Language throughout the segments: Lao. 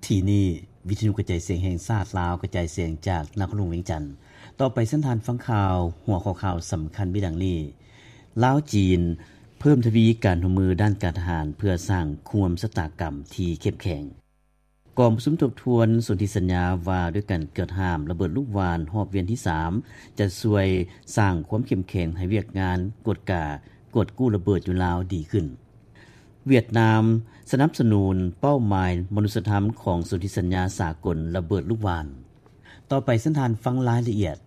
ທີ່ນີ້ ວິທະຍຸກະຈາຍສຽງແຫ່ງຊາດລາວ ກະຈາຍສຽງຈາກນະຄອນຫຼວງວຽງຈັນ. ຕໍ່ໄປເຊີນທ່ານຟັງຂ່າວ ຫົວຂໍ້ຂ່າວສຳຄັນມີດັ່ງນີ້: ລາວ-ຈີນ ເພີ່ມທະວີການຮ່ວມມືດ້ານການທະຫານ ເພື່ອສ້າງຄູ່ຮ່ວມຊະຕາກຳທີ່ເຂັ້ມແຂງ. ກອງປະຊຸມທົບທວນສົນທິສັນຍາວ່າດ້ວຍການກວດຫ້າມລະເບີດລູກຫວ່ານຮອບວຽນທີສາມ ຈະຊ່ວຍສ້າງຄວາມເຂັ້ມແຂງໃຫ້ວຽກງານກວດກາ ກວດກູ້ລະເບີດຢູ່ລາວດີຂຶ້ນ. ຫວຽດນາມສະໜັບສະໜູນເປົ້າໝາຍມະນຸດສະທຳຂອງສົນທິສັນຍາສາກົນລະເບີດລູກຫວ່ານ. ຕໍ່ໄປເຊີນທ່ານຟັງລາຍລະອຽດ.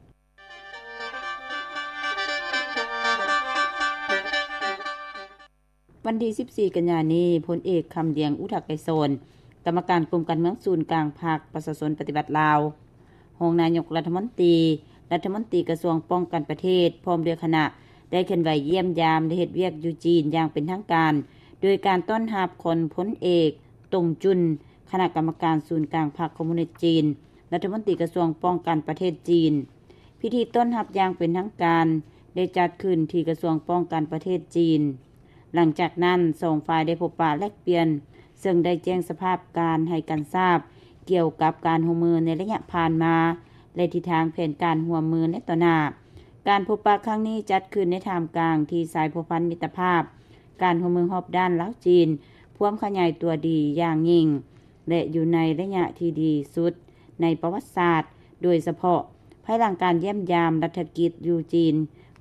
ວັນທີສິບສີ່ ກັນຍານີ້, ພົນເອກ ຄຳດຽງ ອຸທະໄກສອນ ກຳມະການກົມການເມືອງສູນກາງພັກປະຊາຊົນປະຕິວັດລາວ, ຮອງນາຍົກລັດຖະມົນຕີ, ລັດຖະມົນຕີກະຊວງປ້ອງກັນປະເທດ ພ້ອມດ້ວຍຄະນະ ໄດ້ເຄື່ອນໄຫວຢ້ຽມຢາມ ແລະ ເຮັດວຽກຢູ່ຈີນຢ່າງເປັນທາງການ ໂດຍການຕ້ອນຮັບຂອງພົນເອກ ຕົງຈຸນ ຄະນະກຳມະການສູນກາງພັກຄອມມູນິດຈີນ, ລັດຖະມົນຕີກະຊວງປ້ອງກັນປະເທດຈີນ. ພິທີຕ້ອນຮັບຢ່າງເປັນທາງການໄດ້ຈັດຂຶ້ນທີ່ກະຊວງປ້ອງກັນປະເທດຈີນ. ຫຼັງຈາກນັ້ນ, ສອງຝ່າຍໄດ້ພົບປະແລກປ່ຽນ, ເຊິ່ງໄດ້ແຈ້ງສະພາບການໃຫ້ກັນຊາບ ກ່ຽວກັບການຮ່ວມມືໃນໄລຍະຜ່ານມາ ແລະ ທິດທາງແຜນການຮ່ວມມືໃນຕໍ່ໜ້າ. ການພົບປະຄັ້ງນີ້ຈັດຂຶ້ນໃນທ່າມກາງທີ່ສາຍພົວພັນມິດຕະພາບ ການຮ່ວມມືຮອບດ້ານລາວ-ຈີນ ພວມຂະຫຍາຍຕົວດີຢ່າງຍິ່ງ ແລະ ຢູ່ໃນໄລຍະທີ່ດີສຸດໃນປະຫວັດສາດ, ໂດຍສະເພາະ ພາຍຫຼັງການຢ້ຽມຢາມລັດຖະກິດຢູ່ຈີນ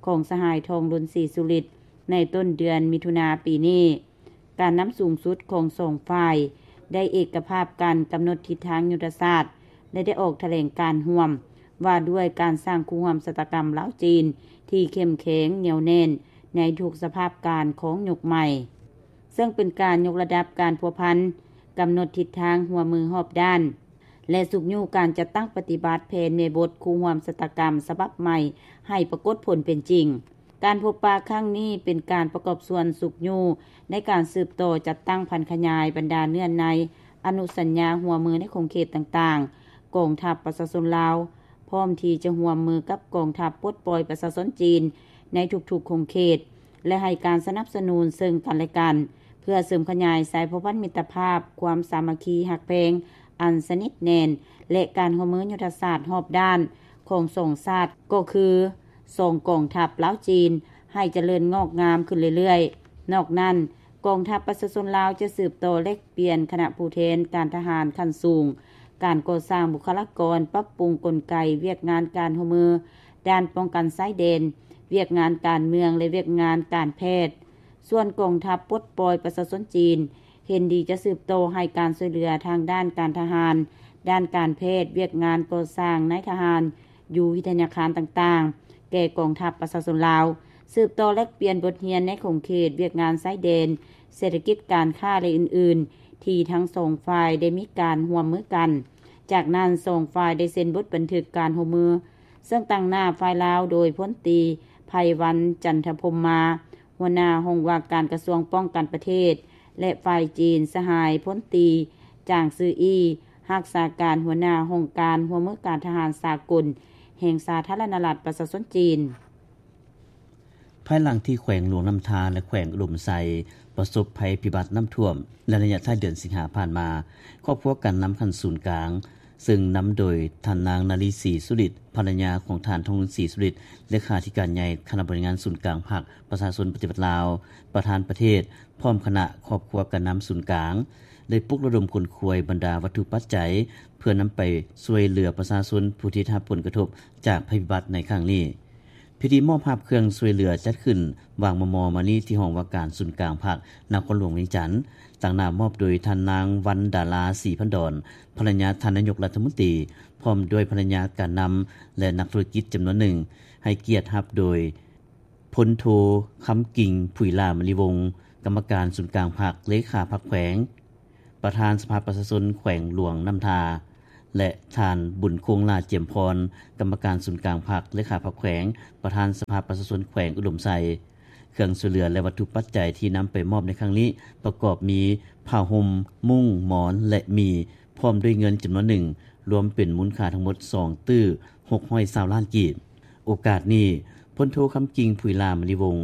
ຂອງສະຫາຍ ທອງລຸນ ສີສຸລິດ ໃນຕົ້ນເດືອນມິຖຸນາປີນີ້. ການນຳສູງສຸດຂອງສອງຝ່າຍໄດ້ເອກະພາບກັນກຳນົດທິດທາງຍຸດທະສາດ ແລະ ໄດ້ອອກຖະແຫຼງການຮ່ວມວ່າດ້ວຍການສ້າງຄູ່ຮ່ວມຊະຕາກຳລາວ-ຈີນທີ່ເຂັ້ມແຂງ, ໜຽວແໜ້ນໃນທຸກສະພາບການຂອງຍຸກໃໝ່. ເຊິ່ງເປັນການຍົກລະດັບການພົວພັນ, ກຳນົດທິດທາງຮ່ວມມືຮອບດ້ານ ແລະ ຊຸກຍູ້ການຈັດຕັ້ງປະຕິບັດແຜນແມ່ບົດຄູ່ຮ່ວມຊະຕາກຳສະບັບໃໝ່ໃຫ້ປາກົດຜົນເປັນຈິງ. ການພົບປະຄັ້ງນີ້ເປັນການປະກອບສ່ວນຊຸກຍູ້ໃນການສືບຕໍ່ຈັດຕັ້ງຜັນຂະຫຍາຍບັນດາເນື້ອໃນອະນຸສັນຍາຮ່ວມມືໃນຂົງເຂດຕ່າງໆ ກອງທັບປະຊາຊົນລາວ ພ້ອມທີ່ຈະຮ່ວມມືກັບກອງທັບປົດປ່ອຍປະຊາຊົນຈີນໃນທຸກໆຂົງເຂດ ແລະ ໃຫ້ການສະໜັບສະໜູນເຊິ່ງກັນແລະກັນ ເພື່ອເສີມຂະຫຍາຍສາຍພົວພັນມິດຕະພາບ, ຄວາມສາມັກຄີຮັກແພງອັນສະໜິດແໜ້ນ ແລະ ການຮ່ວມມືຍຸດທະສາດຮອບດ້ານຂອງສອງຊາດ ກໍຄື ສອງກອງທັບລາວ-ຈີນ ໃຫ້ຈະເລີນງອກງາມຂຶ້ນເລື້ອຍໆ. ນອກນັ້ນ, ກອງທັບປະຊາຊົນລາວຈະສືບຕໍ່ແລກປ່ຽນຄະນະຜູ້ແທນການທະຫານຂັ້ນສູງ, ການກໍ່ສ້າງບຸກຄະລາກອນ, ປັບປຸງກົນໄກວຽກງານການຮ່ວມມືດ້ານປ້ອງກັນຊາຍແດນ, ວຽກງານການເມືອງ ແລະ ວຽກງານການແພດ. ສ່ວນກອງທັບປົດປ່ອຍປະຊາຊົນຈີນ ເຫັນດີຈະສືບຕໍ່ໃຫ້ການຊ່ວຍເຫຼືອທາງດ້ານການທະຫານ, ດ້ານການແພດ, ວຽກງານກໍ່ສ້າງນາຍທະຫານ, ຢູ່ວິທະຍາຄານຕ່າງໆ ແກ່ກອງທັບປະຊາຊົນລາວ, ສືບຕໍ່ແລກປ່ຽນບົດຮຽນໃນຂົງເຂດວຽກງານຊາຍແດນ, ເສດຖະກິດ, ການຄ້າ ແລະ ອື່ນໆ ທີ່ທັງສອງຝ່າຍໄດ້ມີການຮ່ວມມືກັນ. ຈາກນັ້ນ, ສອງຝ່າຍໄດ້ເຊັນບົດບັນທຶກການຮ່ວມມື, ເຊິ່ງຕາງໜ້າຝ່າຍລາວໂດຍພົນຕີ ໄພວັນ ຈັນທະພົມມາ, ຫົວໜ້າຫ້ອງວ່າການກະຊວງປ້ອງກັນປະເທດ ແລະ ຝ່າຍຈີນ ສະຫາຍພົນຕີ ຈາງຊືອີ່, ຮັກສາການຫົວໜ້າຫ້ອງການຮ່ວມມືການທະຫານສາກົນ ແຫ່ງສາທາລະນະລັດປະຊາຊົນຈີນ. ພາຍຫຼັງທີ່ແຂວງຫຼວງນ້ຳທາ ແລະ ແຂວງອຸດົມໄຊ ປະສົບໄພພິບັດນ້ຳຖ້ວມໃນໄລຍະທ້າຍເດືອນສິງຫາຜ່ານມາ, ຄອບຄົວການນຳຂັ້ນສູນກາງ ເຊິ່ງນຳໂດຍທ່ານນາງ ນາລີ ສີສຸລິດ ພັນລະຍາຂອງທ່ານ ທອງລຸນ ສີສຸລິດ ເລຂາທິການໃຫຍ່ຄະນະບໍລິຫານງານສູນກາງພັກປະຊາຊົນປະຕິວັດລາວ, ປະທານປະເທດ ພ້ອມຄະນະຄອບຄົວການນຳສູນກາງ ໄດ້ປຸກລະດົມຂົນຂວາຍບັນດາວັດຖຸປັດໄຈ ເພື່ອນຳໄປຊ່ວຍເຫຼືອປະຊາຊົນຜູ້ທີ່ໄດ້ຮັບຜົນກະທົບຈາກໄພພິບັດໃນຄັ້ງນີ້. ພິທີມອບຮັບເຄື່ອງຊ່ວຍເຫຼືອຈັດຂຶ້ນຫວ່າງມໍ່ໆມານີ້ ທີ່ຫ້ອງວ່າການສູນກາງພັກ ນະຄອນຫຼວງວຽງຈັນ, ຕາງໜ້າມອບໂດຍທ່ານນາງ ວັນດາລາ ສີພັນດອນ ພັນລະຍາທ່ານນາຍົກລັດຖະມົນຕີ ພ້ອມດ້ວຍພັນລະຍາການນຳ ແລະ ນັກທຸລະກິດຈຳນວນໜຶ່ງ, ໃຫ້ກຽດຮັບໂດຍ ພົນໂທ ຄຳກິ່ງ ຜຸຍຫຼ້າມະນີວົງ ກຳມະການສູນກາງພັກ, ເລຂາພັກແຂວງ, ປະທານສະພາປະຊາຊົນແຂວງຫຼວງນ້ຳທາ ແລະ ທ່ານ ບຸນຄົງ ຫຼ້າຈຽມພອນ ກຳມະການສູນກາງພັກ, ເລຂາພັກແຂວງ, ປະທານສະພາປະຊາຊົນແຂວງອຸດົມໄຊ. ເຄື່ອງຊ່ວຍເຫຼືອ ແລະ ວັດຖຸປັດໄຈທີ່ນຳໄປມອບໃນຄັ້ງນີ້ ປະກອບມີ ຜ້າຫົ່ມ, ມຸ້ງ, ໝອນ ແລະ ໝີ່ ພ້ອມດ້ວຍເງິນຈຳນວນໜຶ່ງ, ລວມເປັນມູນຄ່າທັງໝົດສອງຕື້ຫົກຮ້ອຍຊາວລ້ານກີບ. ໂອກາດນີ້, ພົນໂທ ຄຳກິ່ງ ຜຸຍຫຼ້າມະນີວົງ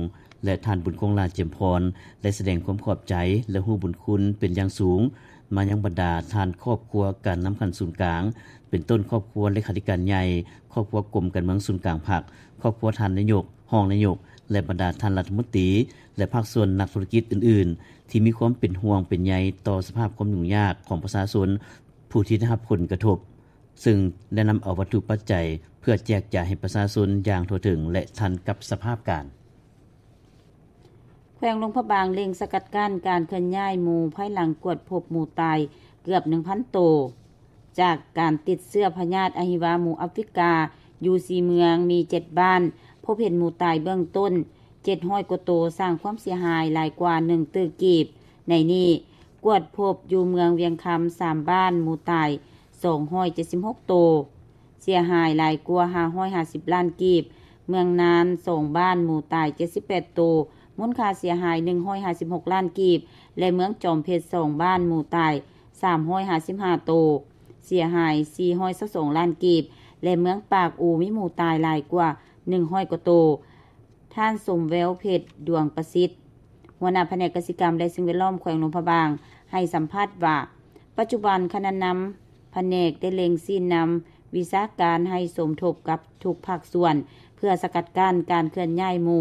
ແລະ ທ່ານ ບຸນຄົງ ຫຼ້າຈຽມພອນ ໄດ້ສະແດງຄວາມຂອບໃຈ ແລະ ຮູ້ບຸນຄຸນເປັນຢ່າງສູງ ມາຍັງບັນດາທ່ານຄອບຄົວການນຳຂັ້ນສູນກາງ ເປັນຕົ້ນຄອບຄົວເລຂາທິການໃຫຍ່, ຄອບຄົວກົມການເມືອງສູນກາງພັກ, ຄອບຄົວທ່ານນາຍົກ, ຮອງນາຍົກ ແລະ ບັນດາທ່ານລັດຖະມົນຕີ ແລະ ພາກສ່ວນນັກທຸລະກິດອື່ນໆ ທີ່ມີຄວາມເປັນຫ່ວງເປັນໃຍຕໍ່ສະພາບຄວາມຫຍຸ້ງຍາກຂອງປະຊາຊົນຜູ້ທີ່ໄດ້ຮັບຜົນກະທົບ, ເຊິ່ງໄດ້ນຳເອົາວັດຖຸປັດໄຈເພື່ອແຈກຈ່າຍໃຫ້ປະຊາຊົນຢ່າງທົ່ວເຖິງ ແລະ ທັນກັບສະພາບການ. ແຂວງຫຼວງພະບາງເລັ່ງສະກັດກັ້ນການເຄື່ອນຍ້າຍໝູ ພາຍຫຼັງກວດພົບໝູຕາຍເກືອບ ໜຶ່ງພັນ ໂຕ ຈາກການຕິດເຊື້ອພະຍາດອະຫິວາໝູອາຟຣິກາ ຢູ່ ສີ່ ເມືອງ ມີ ເຈັດ ບ້ານ ພົບເຫັນໝູຕາຍເບື້ອງຕົ້ນ ເຈັດຮ້ອຍ ກວ່າໂຕ, ສ້າງຄວາມເສຍຫາຍຫຼາຍກວ່າ ໜຶ່ງ ຕື້ ກີບ. ໃນນີ້ ກວດພົບຢູ່ເມືອງວຽງຄຳ ສາມ ບ້ານ ໝູຕາຍ ສອງຮ້ອຍເຈັດສິບຫົກ ໂຕ, ເສຍຫາຍຫຼາຍກວ່າ ຫ້າຮ້ອຍຫ້າສິບ ລ້ານກີບ, ເມືອງນານ ສອງ ບ້ານ ໝູຕາຍ ເຈັດສິບແປດ ໂຕ, ມູນຄ່າເສຍຫາຍ ໜຶ່ງຮ້ອຍຫ້າສິບຫົກ ລ້ານກີບ ແລະ ເມືອງຈອມເພັດ ສອງ ບ້ານ ໝູຕາຍ ສາມຮ້ອຍຫ້າສິບຫ້າ ໂຕ, ເສຍຫາຍ ສີ່ຮ້ອຍຊາວສອງ ລ້ານກີບ ແລະ ເມືອງປາກອູ ມີໝູຕາຍຫຼາຍກວ່າ ໜຶ່ງຮ້ອຍ ກວ່າໂຕ. ທ່ານ ສົມແວວເພັດ ດວງປະສິດ ຫົວໜ້າພະແນກກະສິກຳ ແລະ ສິ່ງແວດລ້ອມ ແຂວງຫຼວງພະບາງ ໃຫ້ສຳພາດວ່າ ປັດຈຸບັນ ຄະນະນຳພະແນກໄດ້ເລັ່ງຊີ້ນຳວິຊາການໃຫ້ສົມທົບກັບທຸກພາກສ່ວນ ເພື່ອສະກັດກັ້ນການເຄື່ອນຍ້າຍໝູ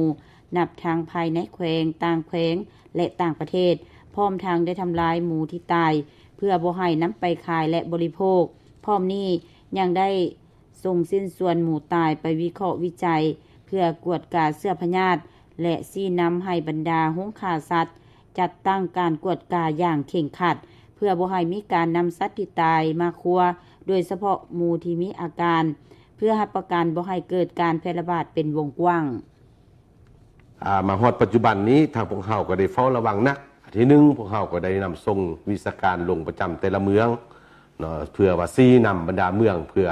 ນັບທັງພາຍໃນແຂວງ, ຕ່າງແຂວງ ແລະ ຕ່າງປະເທດ, ພ້ອມທັງໄດ້ທຳລາຍໝູທີ່ຕາຍ ເພື່ອບໍ່ໃຫ້ນຳໄປຂາຍ ແລະ ບໍລິໂພກ. ພ້ອມນີ້ຍັງໄດ້ ສົ່ງຊິ້ນສ່ວນໝູຕາຍໄປວິເຄາະວິໄຈ ເພື່ອກວດກາເຊື້ອພະຍາດ ແລະ ຊີ້ນຳໃຫ້ບັນດາໂຮງຂ້າສັດ ຈັດຕັ້ງການກວດກາຢ່າງເຄັ່ງຄັດ ເພື່ອບໍ່ໃຫ້ມີການນຳສັດທີ່ຕາຍມາຄົວ ໂດຍສະເພາະໝູທີ່ມີອາການ ເພື່ອຮັບປະກັນບໍ່ໃຫ້ເກີດການແຜ່ລະບາດເປັນວົງກວ້າງ. ອາ ມາຮອດປັດຈຸບັນນີ້ ທາງພວກເຮົາກໍໄດ້ເຝົ້າລະວັງໜັກ. ທີໜຶ່ງ ພວກເຮົາກໍໄດ້ນຳສົ່ງວິຊາການລົງປະຈຳແຕ່ລະເມືອງເນາະ ເພື່ອວ່າຊີ້ນຳບັນດາເມືອງ ເພື່ອ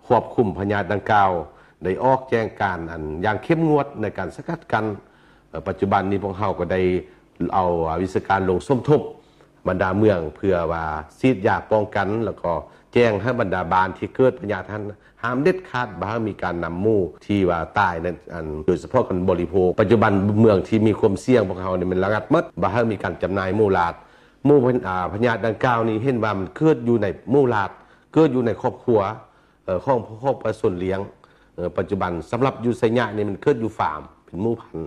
ຄວບຄຸມພະຍາດດັ່ງກ່າວ ໄດ້ອອກແຈ້ງການອັນຢ່າງເຂັ້ມງວດໃນການສະກັດກັ້ນ. ເອີ ປັດຈຸບັນນີ້ພວກເຮົາກໍໄດ້ເອົາ ອາ ວິຊາການລົງສົມທົບບັນດາເມືອງ ເພື່ອວ່າສີດຢາປ້ອງກັນ ແລ້ວກໍແຈ້ງໃຫ້ບັນດາບ້ານທີ່ເກີດພະຍາດຫັ້ນ ຫ້າມເດັດຂາດ ບໍ່ໃຫ້ມີການນຳໝູທີ່ວ່າຕາຍນັ້ນ ອັນ ໂດຍສະເພາະການບໍລິໂພກ. ປັດຈຸບັນເມືອງທີ່ມີຄວາມສ່ຽງພວກເຮົານີ້ແມ່ນລະງັບໝົດ ບໍ່ໃຫ້ມີການຈຳໜ່າຍໝູຫຼາດ. ໝູ ອາ ພະຍາດດັ່ງກ່າວນີ້ເຫັນວ່າມັນເກີດຢູ່ໃນໝູຫຼາດ ເກີດຢູ່ໃນຄອບຄົວ ເອີ ຂອງ ຂອງປະຊາຊົນລ້ຽງ. ເອີ ປັດຈຸບັນສຳລັບຢູ່ໄຊຍະນີ້ມັນເກີດຢູ່ຟາມ ເປັນໝູພັນ.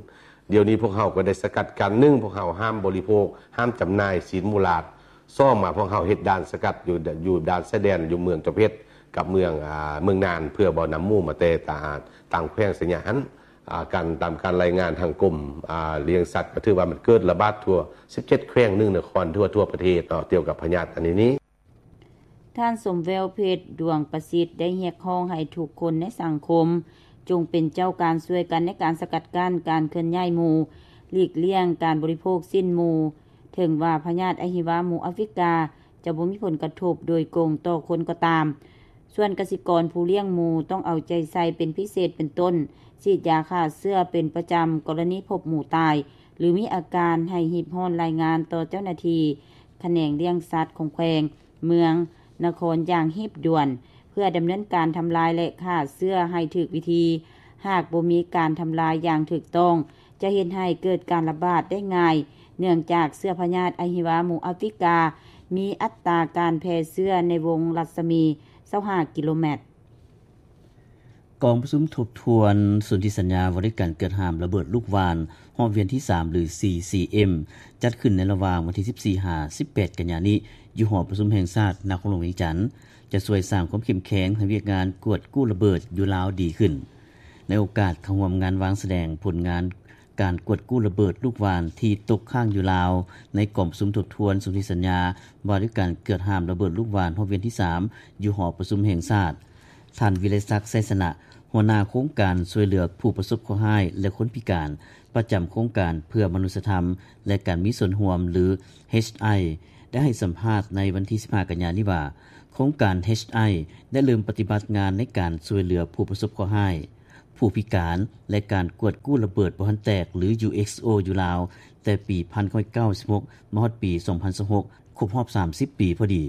ດຽວນີ້ພວກເຮົາກໍໄດ້ສະກັດກັ້ນ ໜຶ່ງ ພວກເຮົາຫ້າມບໍລິໂພກ ຫ້າມຈຳໜ່າຍຊີ້ນໝູຫຼາດ. ສອງມາ ພວກເຮົາເຮັດດ່ານສະກັດຢູ່ ຢູ່ດ່ານຊາຍແດນ ຢູ່ເມືອງຈອມເພັດກັບເມືອງ ອາ ເມືອງນານ ເພື່ອບໍ່ນຳໝູມາແຕ່ຕ່າງ ຕ່າງແຂວງໄຊຍະຫັ້ນ. ອາ ການ ຕາມການລາຍງານທາງກົມ ອາ ລ້ຽງສັດ ກໍຖືວ່າມັນເກີດລະບາດທົ່ວສິບເຈັດແຂວງ ໜຶ່ງນະຄອນ ທົ່ວ ທົ່ວປະເທດເນາະ ກ່ຽວກັບພະຍາດອັນນີ້. ທ່ານ ສົມແວວເພັດ ດວງປະສິດ ໄດ້ຮຽກຮ້ອງໃຫ້ທຸກຄົນໃນສັງຄົມ ຈົ່ງເປັນເຈົ້າການຊ່ວຍກັນໃນການສະກັດກັ້ນການເຄື່ອນຍ້າຍໝູ ຫຼີກລ່ຽງການບໍລິໂພກຊີ້ນໝູ. ເຖິງວ່າພະຍາດອະຫິວາໝູອາຟຣິກາ ຈະບໍ່ມີຜົນກະທົບໂດຍກົງຕໍ່ຄົນກໍຕາມ, ສ່ວນກະສິກອນຜູ້ລ້ຽງໝູຕ້ອງເອົາໃຈໃສ່ເປັນພິເສດ ເປັນຕົ້ນ ສີດຢາຂ້າເຊື້ອເປັນປະຈຳ, ກໍລະນີພົບໝູຕາຍ ຫຼື ມີອາການ ໃຫ້ຮີບຮ້ອນລາຍງານຕໍ່ເຈົ້າໜ້າທີ່ຂະແໜງລ້ຽງສັດຂອງແຂວງ, ເມືອງ, ນະຄອນຢ່າງຮີບດ່ວນ ເພື່ອດຳເນີນການທຳລາຍ ແລະ ຂ້າເຊື້ອໃຫ້ຖືກວິທີ. ຫາກບໍ່ມີການທຳລາຍຢ່າງຖືກຕ້ອງ ຈະເຮັດໃຫ້ເກີດການລະບາດໄດ້ງ່າຍ ເນື່ອງຈາກເຊື້ອພະຍາດອະຫິວາໝູອາຟຣິກາ ມີອັດຕາການແຜ່ເຊື້ອໃນວົງລັດສະໝີຊາວຫ້າກິໂລແມັດ. ກອງປະຊຸມທົບທວນສົນທິສັນຍາວ່າດ້ວຍການເກີດຫ້າມລະເບີດລູກຫວ່ານຮອບວຽນທີສາມ ຫຼື ຊີຊີເອັມ ຈັດຂຶ້ນໃນລະຫວ່າງວັນທີສິບສີ່ ຫາ ສິບແປດ ກັນຍານີ້ ຢູ່ຫໍປະຊຸມແຫ່ງຊາດນະຄອນຫຼວງວຽງຈັນ ຈະຊ່ວຍສ້າງຄວາມເຂັ້ມແຂງໃຫ້ວຽກງານກວດກູ້ລະເບີດຢູ່ລາວດີຂຶ້ນ. ໃນໂອກາດເຂົ້າຮ່ວມງານວາງສະແດງຜົນງານ ການກວດກູ້ລະເບີດລູກຫວ່ານທີ່ຕົກຄ້າງຢູ່ລາວ ໃນກອງປະຊຸມທົບທວນສົນທິສັນຍາວ່າດ້ວຍການເກີດຫ້າມລະເບີດລູກຫວ່ານຮອບວຽນທີສາມ ຢູ່ຫໍປະຊຸມແຫ່ງຊາດ, ທ່ານ ວິໄລສັກ ໄຊຊະນະ ຫົວໜ້າໂຄງການຊ່ວຍເຫຼືອຜູ້ປະສົບເຄາະຮ້າຍ ແລະ ຄົນພິການ ປະຈຳໂຄງການເພື່ອມະນຸດສະທຳ ແລະ ການມີສ່ວນຮ່ວມ ຫຼື ເອັດໄອ ໄດ້ໃຫ້ສຳພາດໃນວັນທີສິບຫ້າ ກັນຍານີ້ວ່າ ໂຄງການ ເອັດໄອ ໄດ້ເລີ່ມປະຕິບັດງານໃນການຊ່ວຍເຫຼືອຜູ້ປະສົບເຄາະຮ້າຍ, ຜູ້ພິການ ແລະ ການກວດກູ້ລະເບີດບໍ່ທັນແຕກ ຫຼື ຢູເອັກໂອ ຢູ່ລາວ ແຕ່ປີພັນເກົ້າຮ້ອຍເກົ້າສິບຫົກ ມາຮອດປີສອງພັນຊາວຫົກ ຄົບຮອບສາມສິບປີພໍດີ.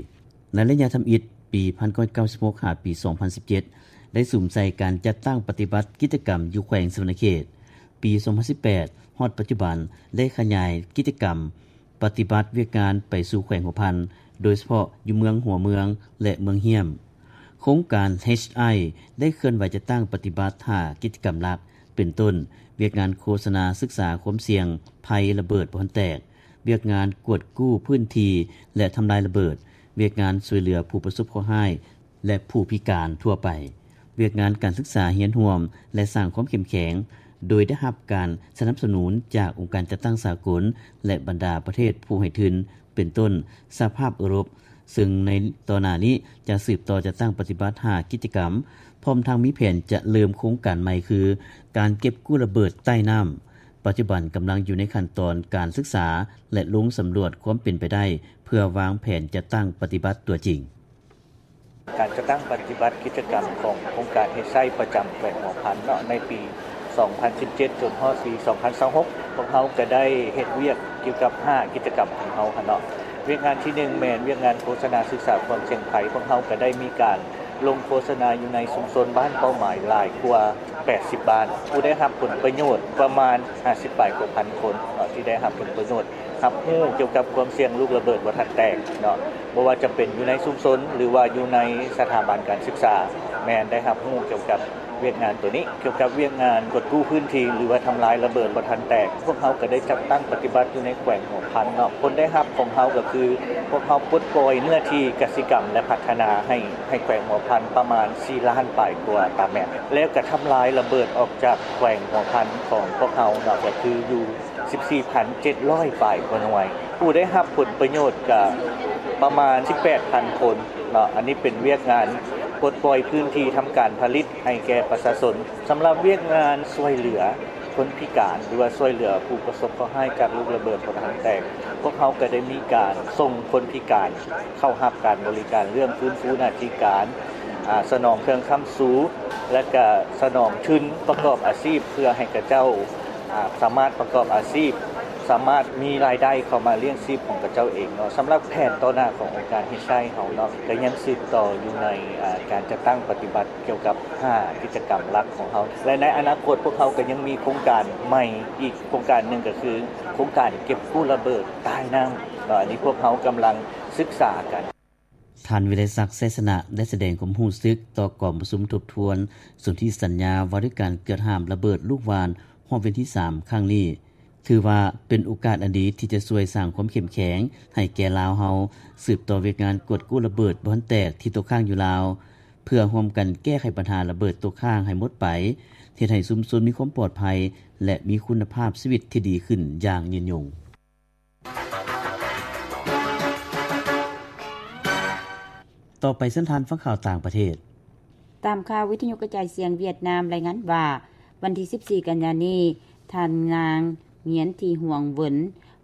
ໃນໄລຍະທຳອິດ ປີພັນເກົ້າຮ້ອຍເກົ້າສິບຫົກ ຫາ ປີສອງພັນສິບເຈັດ ໄດ້ສຸມໃສ່ການຈັດຕັ້ງປະຕິບັດກິດຈະກຳຢູ່ແຂວງສະຫວັນນະເຂດ. ປີສອງພັນສິບແປດ ຮອດປັດຈຸບັນ ໄດ້ຂະຫຍາຍກິດຈະກຳ ປະຕິບັດວຽກງານໄປສູ່ແຂວງຫົວພັນ ໂດຍສະເພາະຢູ່ເມືອງຫົວເມືອງ ແລະ ເມືອງຮ້ຽມ. ໂຄງການ ເອສໄອ ໄດ້ເຄື່ອນໄຫວຈັດຕັ້ງປະຕິບັດຫ້າກິດຈະກຳຫຼັກ ເປັນຕົ້ນ ວຽກງານໂຄສະນາສຶກສາຄວາມສ່ຽງໄພລະເບີດບໍ່ທັນແຕກ, ວຽກງານກວດກູ້ພື້ນທີ່ ແລະ ທຳລາຍລະເບີດ, ວຽກງານຊ່ວຍເຫຼືອຜູ້ປະສົບເຄາະຮ້າຍ ແລະ ຜູ້ພິການທົ່ວໄປ, ວຽກງານການສຶກສາຮຽນຮ່ວມ ແລະ ສ້າງຄວາມເຂັ້ມແຂງ, ໂດຍໄດ້ຮັບການສະໜັບສະໜູນຈາກອົງການຈັດຕັ້ງສາກົນ ແລະ ບັນດາປະເທດຜູ້ໃຫ້ທຶນ ເປັນຕົ້ນ ສະຫະພາບເອີຣົບ, ເຊິ່ງໃນຕໍ່ໜ້ານີ້ຈະສືບຕໍ່ຈັດຕັ້ງປະຕິບັດຫ້າກິດຈະກຳ, ພ້ອມທັງມີແຜນຈະເລີ່ມໂຄງການໃໝ່ຄື ການເກັບກູ້ລະເບີດໃຕ້ນ້ຳ. ປັດຈຸບັນກຳລັງຢູ່ໃນຂັ້ນຕອນການສຶກສາ ແລະ ລົງສຳຫຼວດຄວາມເປັນໄປໄດ້ ເພື່ອວາງແຜນຈັດຕັ້ງປະຕິບັດຕົວຈິງ. ການຈັດຕັ້ງປະຕິບັດກິດຈະກຳຂອງໂຄງການເຮັດໄຊປະຈຳແຂວງຫົວພັນເນາະ ໃນປີສອງພັນສິບເຈັດ ຈົນຮອດປີສອງພັນຊາວຫົກ ພວກເຮົາກະໄດ້ເຮັດວຽກກ່ຽວກັບຫ້າກິດຈະກຳຂອງເຮົາຫັ້ນເນາະ. ວຽກງານທີໜຶ່ງ ແມ່ນວຽກງານໂຄສະນາສຶກສາຄວາມສ່ຽງໄພ, ພວກເຮົາກະໄດ້ມີການລົງໂຄສະນາຢູ່ໃນຊຸມຊົນບ້ານເປົ້າໝາຍຫຼາຍກວ່າແປດສິບບ້ານ, ຜູ້ໄດ້ຮັບຜົນປະໂຫຍດປະມານຫ້າສິບປາຍກວ່າພັນຄົນເນາະ ທີ່ໄດ້ຮັບຜົນປະໂຫຍດ ຮັບຮູ້ກ່ຽວກັບຄວາມສ່ຽງລູກລະເບີດບໍ່ທັນແຕກເນາະ, ບໍ່ວ່າຈະເປັນຢູ່ໃນຊຸມຊົນ ຫຼືວ່າຢູ່ໃນສະຖາບັນການສຶກສາ ແມ່ນໄດ້ຮັບຮູ້ກ່ຽວກັບວຽກງານໂຕນີ້. ກ່ຽວກັບວຽກງານກວດກູ້ພື້ນທີ່ ຫຼືວ່າທຳລາຍລະເບີດບໍ່ທັນແຕກ, ພວກເຮົາກະໄດ້ຈັດຕັ້ງປະຕິບັດຢູ່ໃນແຂວງຫົວພັນເນາະ. ຜົນໄດ້ຮັບຂອງເຮົາກະຄື ພວກເຮົາປົດປ່ອຍເນື້ອທີ່ກະສິກຳ ແລະ ພັດທະນາໃຫ້ ໃຫ້ແຂວງຫົວພັນປະມານສີ່ລ້ານປາຍກວ່າຕາແມັດ, ແລ້ວກະທຳລາຍລະເບີດອອກຈາກແຂວງຫົວພັນຂອງພວກເຮົາເນາະ ກະຄືຢູ່ ສິບສີ່ພັນເຈັດຮ້ອຍປາຍກວ່າໜ່ວຍ, ຜູ້ໄດ້ຮັບຜົນປະໂຫຍດກະປະມານສິບແປດພັນຄົນເນາະ. ອັນນີ້ເປັນວຽກງານປົດປ່ອຍພື້ນທີ່ທຳການຜະລິດໃຫ້ແກ່ປະຊາຊົນ. ສຳລັບວຽກງານຊ່ວຍເຫຼືອຄົນພິການ ຫຼືວ່າຊ່ວຍເຫຼືອຜູ້ປະສົບເຄາະຮ້າຍຈາກລູກລະເບີດບໍ່ທັນແຕກ, ພວກເຮົາກະໄດ້ມີການສົ່ງຄົນພິການເຂົ້າຮັບການບໍລິການເລື່ອງຟື້ນຟູໜ້າທີ່ການ, ອາ, ສະໜອງເຄື່ອງຄ້ຳຊູ ແລະ ກະສະໜອງທຶນປະກອບອາຊີບ ເພື່ອໃຫ້ເຂົາເຈົ້າ ອາ ສາມາດປະກອບອາຊີບ, ສາມາດມີລາຍໄດ້ເຂົ້າມາລ້ຽງຊີບຂອງເຂົາເຈົ້າເອງເນາະ. ສຳລັບແຜນຕໍ່ໜ້າຂອງອົງການເຮັດໄຊເຮົາເນາະ ກະຍັງສືບຕໍ່ຢູ່ໃນ ອາ ການຈັດຕັ້ງປະຕິບັດກ່ຽວກັບຫ້າກິດຈະກຳຫຼັກຂອງເຮົາ ແລະ ໃນອະນາຄົດພວກເຮົາກະຍັງມີໂຄງການໃໝ່ອີກໂຄງການໜຶ່ງ ກະຄືໂຄງການເກັບກູ້ລະເບີດໃຕ້ນ້ຳເນາະ. ອັນນີ້ພວກເຮົາກຳລັງສຶກສາກັນ. ທ່ານ ວິໄລສັກ ໄຊຊະນະ ໄດ້ສະແດງຄວາມຮູ້ສຶກຕໍ່ກອງປະຊຸມທົບທວນສົນທິສັນຍາວ່າດ້ວຍການເກືອດຫ້າມລະເບີດລູກຫວ່ານຮອບວັນທີສາມຄັ້ງນີ້, ຖືວ່າເປັນໂອກາດອັນດີທີ່ຈະຊ່ວຍສ້າງຄວາມເຂັ້ມແຂງໃຫ້ແກ່ລາວເຮົາ, ສືບຕໍ່ວຽກງານກວດກູ້ລະເບີດບໍ່ທັນແຕກທີ່ຕົກຄ້າງຢູ່ລາວ, ເພື່ອຮ່ວມກັນແກ້ໄຂບັນຫາລະເບີດຕົກຄ້າງໃຫ້ໝົດໄປ, ເຮັດໃຫ້ຊຸມຊົນມີຄວາມປອດໄພ ແລະ ມີຄຸນນະພາບຊີວິດທີ່ດີຂຶ້ນຢ່າງຍືນຍົງ. ຕໍ່ໄປເຊີນທ່ານຟັງຂ່າວຕ່າງປະເທດ. ຕາມຂ່າວວິທະຍຸກະຈາຍສຽງຫວຽດນາມລາຍງານວ່າ ວັນທີສິບສີ່ກັນຍານີ້, ທ່ານນາງ ຫງຽນ ທີຫວງເຫວິນ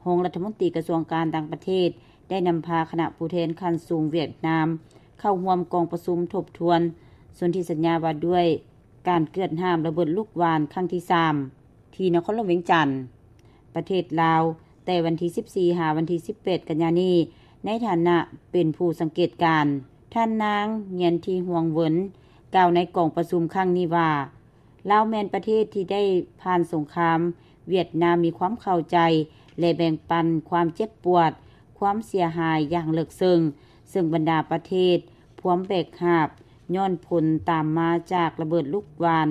ຮອງລັດຖະມົນຕີກະຊວງການຕ່າງປະເທດ ໄດ້ນຳພາຄະນະຜູ້ແທນຂັ້ນສູງຫວຽດນາມ ເຂົ້າຮ່ວມກອງປະຊຸມທົບທວນສົນທິສັນຍາວ່າດ້ວຍການເກືອດຫ້າມລະເບີດລູກຫວ່ານຄັ້ງທີສາມ ທີ່ນະຄອນຫຼວງວຽງຈັນ ປະເທດລາວ ແຕ່ວັນທີສິບສີ່ ຫາວັນທີສິບແປດກັນຍານີ້ ໃນຖານະເປັນຜູ້ສັງເກດການ. ທ່ານນາງ ຫງຽນ ທີຫວງເຫວິນ ກ່າວໃນກອງປະຊຸມຄັ້ງນີ້ວ່າ ລາວແມ່ນປະເທດທີ່ໄດ້ຜ່ານສົງຄາມ, ຫວຽດນາມມີຄວາມເຂົ້າໃຈ ແລະ ແບ່ງປັນຄວາມເຈັບປວດ, ຄວາມເສຍຫາຍຢ່າງເລິກເຊິ່ງ, ເຊິ່ງບັນດາປະເທດພວມແບກຫາບ ຍ້ອນຜົນຕາມມາຈາກລະເບີດລູກຫວ່ານ,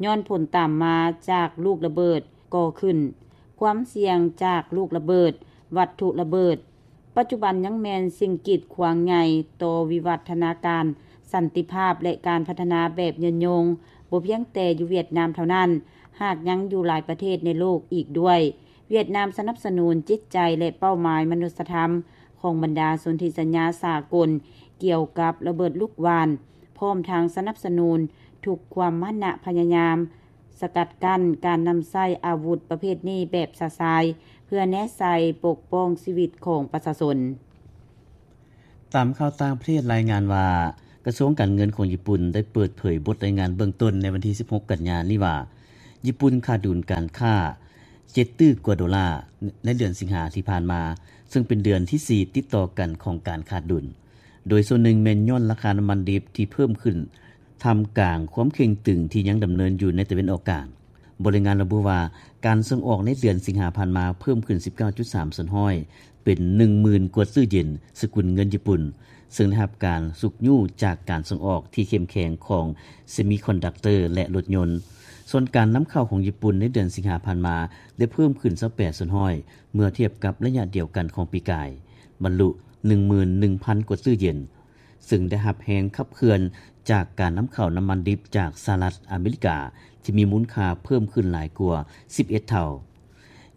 ຍ້ອນຜົນຕາມມາຈາກລູກລະເບີດກໍ່ຂຶ້ນ, ຄວາມສ່ຽງຈາກລູກລະເບີດ, ວັດຖຸລະເບີດ, ປັດຈຸບັນຍັງແມ່ນສິ່ງກີດຂວາງໃຫຍ່ຕໍ່ວິວັດທະນາການ, ສັນຕິພາບ ແລະ ການພັດທະນາແບບຍືນຍົງ, ບໍ່ພຽງແຕ່ຢູ່ຫວຽດນາມເທົ່ານັ້ນ, ຫາກຍັງຢູ່ຫຼາຍປະເທດໃນໂລກອີກດ້ວຍ. ຫວຽດນາມສະໜັບສະໜູນຈິດໃຈ ແລະ ເປົ້າໝາຍມະນຸດສະທຳຂອງບັນດາສົນທິສັນຍາສາກົນກ່ຽວກັບລະເບີດລູກຫວ່ານ, ພ້ອມທັງສະໜັບສະໜູນທຸກຄວາມມານະພະຍາຍາມ ສະກັດກັ້ນການນຳໃຊ້ອາວຸດປະເພດນີ້ແບບຊະຊາຍ ເພື່ອແນໃສ່ປົກປ້ອງຊີວິດຂອງປະຊາຊົນ. ຕາມຂ່າວຕ່າງປະເທດລາຍງານວ່າ ກະຊວງການເງິນຂອງຍີ່ປຸ່ນໄດ້ເປີດເຜີຍບົດລາຍງານເບື້ອງຕົ້ນໃນວັນທີສິບຫົກກັນຍານີ້ວ່າ ຍີ່ປຸ່ນຂາດດຸນການຄ້າເຈັດຕື້ກວ່າໂດລາໃນເດືອນສິງຫາທີ່ຜ່ານມາ, ເຊິ່ງເປັນເດືອນທີສີ່ຕິດຕໍ່ກັນຂອງການຂາດດຸນ. ໂດຍສ່ວນໜຶ່ງແມ່ນຍ້ອນລາຄານ້ຳມັນດິບທີ່ເພີ່ມຂຶ້ນ ທ່າມກາງຄວາມເຄັ່ງຕຶງທີ່ຍັງດຳເນີນຢູ່ໃນຕາເວັນອອກກາງ. ບົດລາຍງານລະບຸວ່າ ການສົ່ງອອກໃນເດືອນສິງຫາຜ່ານມາເພີ່ມຂຶ້ນສິບເກົ້າຈຸດສາມສ່ວນຮ້ອຍ ເປັນ ໜຶ່ງໝື່ນ ກວ່າຕື້ເຢນ ສະກຸນເງິນຍີ່ປຸ່ນ ຊຶ່ງໄດ້ຮັບການຊຸກຍູ້ຈາກການສົ່ງອອກທີ່ເຂັ້ມແຂງຂອງ ເຊມີຄອນດັກເຕີ ແລະ ລົດຍົນ. ສ່ວນການນຳເຂົ້າຂອງຍີ່ປຸ່ນໃນເດືອນສິງຫາຜ່ານມາ ໄດ້ເພີ່ມຂຶ້ນ ຊາວແປດສ່ວນຮ້ອຍ ເມື່ອທຽບກັບໄລຍະດຽວກັນຂອງປີກາຍ, ບັນລຸ ໜຶ່ງໝື່ນໜຶ່ງພັນ ກວ່າຕື້ເຢນ, ຊຶ່ງໄດ້ຮັບແຮງຂັບເຄື່ອນຈາກການນຳເຂົ້ານ້ຳມັນດິບຈາກສະຫະລັດອາເມລິກາ ທີ່ມີມູນຄ່າເພີ່ມຂຶ້ນຫຼາຍກວ່າ ສິບເອັດເທົ່າ.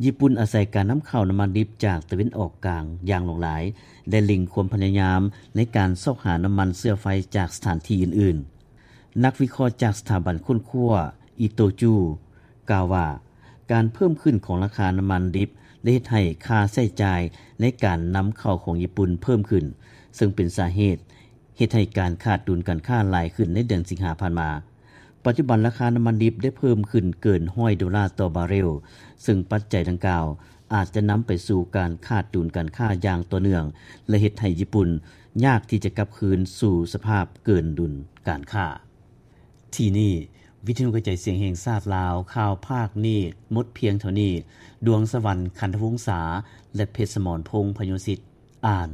ຍີ່ປຸ່ນອາໄສການນຳເຂົ້ານ້ຳມັນດິບຈາກຕາເວັນອອກກາງຢ່າງຫຼວງຫຼາຍ ແລະ ເລັ່ງຄວາມພະຍາຍາມໃນການຊອກຫານ້ຳມັນເຊື້ອໄຟຈາກສະຖານທີ່ອື່ນໆ. ນັກວິເຄາະຈາກສະຖາບັນຄົ້ນຄວ້າ ອີໂຕຈູ ກ່າວວ່າ ການເພີ່ມຂຶ້ນຂອງລາຄານ້ຳມັນດິບໄດ້ເຮັດໃຫ້ຄ່າໃຊ້ຈ່າຍໃນການນຳເຂົ້າຂອງຍີ່ປຸ່ນເພີ່ມຂຶ້ນ, ເຊິ່ງເປັນສາເຫດ ເຮັດໃຫ້ການຂາດດຸນການຄ້າຫຼາຍຂຶ້ນໃນເດືອນສິງຫາຜ່ານມາ. ປັດຈຸບັນລາຄານ້ຳມັນດິບໄດ້ເພີ່ມຂຶ້ນເກີນຮ້ອຍໂດລາຕໍ່ບາເຣວ, ເຊິ່ງປັດໄຈດັ່ງກ່າວອາດຈະນຳໄປສູ່ການຂາດດຸນການຄ້າຢ່າງຕໍ່ເນື່ອງ ແລະ ເຮັດໃຫ້ຍີ່ປຸ່ນຍາກທີ່ຈະກັບຄືນສູ່ສະພາບເກີນດຸນການຄ້າ. ທີ່ນີ້ ວິທະຍຸກະຈາຍສຽງແຫ່ງຊາດລາວ ຂ່າວພາກນີ້ໝົດພຽງເທົ່ານີ້. ດວງສະຫວັນ ຂັນທະວົງສາ ແລະ ເພັດສະໝອນພົງ ພະໂຍສິດ ອ່ານ.